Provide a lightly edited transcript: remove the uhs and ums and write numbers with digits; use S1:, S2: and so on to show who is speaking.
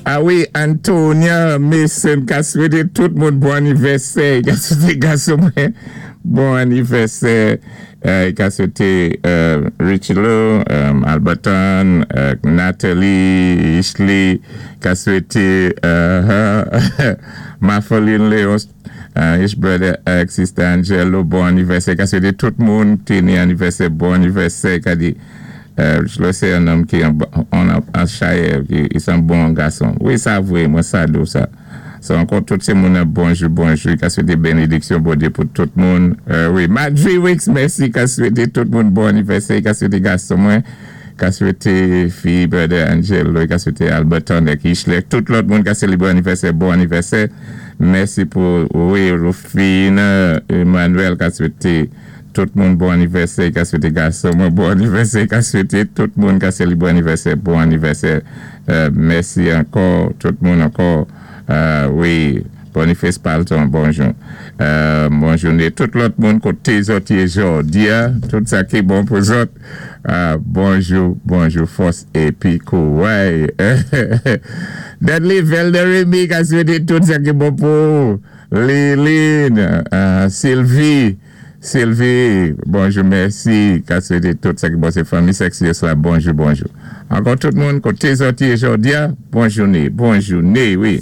S1: A wi, Antonia Mason ka swété tout moun bon anivèsè, ka swété gason mwen bon anivèsè, ka swété Richelo, Alberton, Natalie, Ishley, ka swété Mafeline Léon, Ish brother ak sister Angelo bon anivèsè, ka swété tout moun ki ni anivèsè bon anivèsè, ka di Richelo sé yon nonm ki an chayè, ki sé yon bon gason. Wi, sa vwé, mwen sa di sa. So ankò tout sé moun bonjou, bonjou, ka swété bénédiksyon Bondyé pou tout moun. Wi, Madry Wicks, mèsi, ka swété tout moun bon anivèsè, ka swété gason mwen, ka swété fi brother Angelo, ka swété Alberton ak Ishley, tout lòt moun ka sélébwé anivèsè, bon anivèsè. Mèsi pou, wi, Rufine, Emmanuel, ka swété tout moun bon anivèsè, ka swété gason mwen bon anivèsè, ka swété tout moun ka sélébwé anivèsè, bon anivèsè. Mèsi ankò, tout moun ankò. Wi, Boniface Palton, bonjou. Bon jouné. Tout lòt moun koté zòt yé jòdi a, tout sa ki bon pou zòt. Bonjou, bonjou, fòs épi kouray. Dudley Velderemy ka swété tout sa ki bon pou Liline, Sylvie, Sylvie, bonjou, mèsi, ka swété tout sa ki bon, sé fanmi Sexius la, bonjou, bonjou. Ankò tout moun, koté zòt yé jòdi a, bon jouné, bon jouné, wi.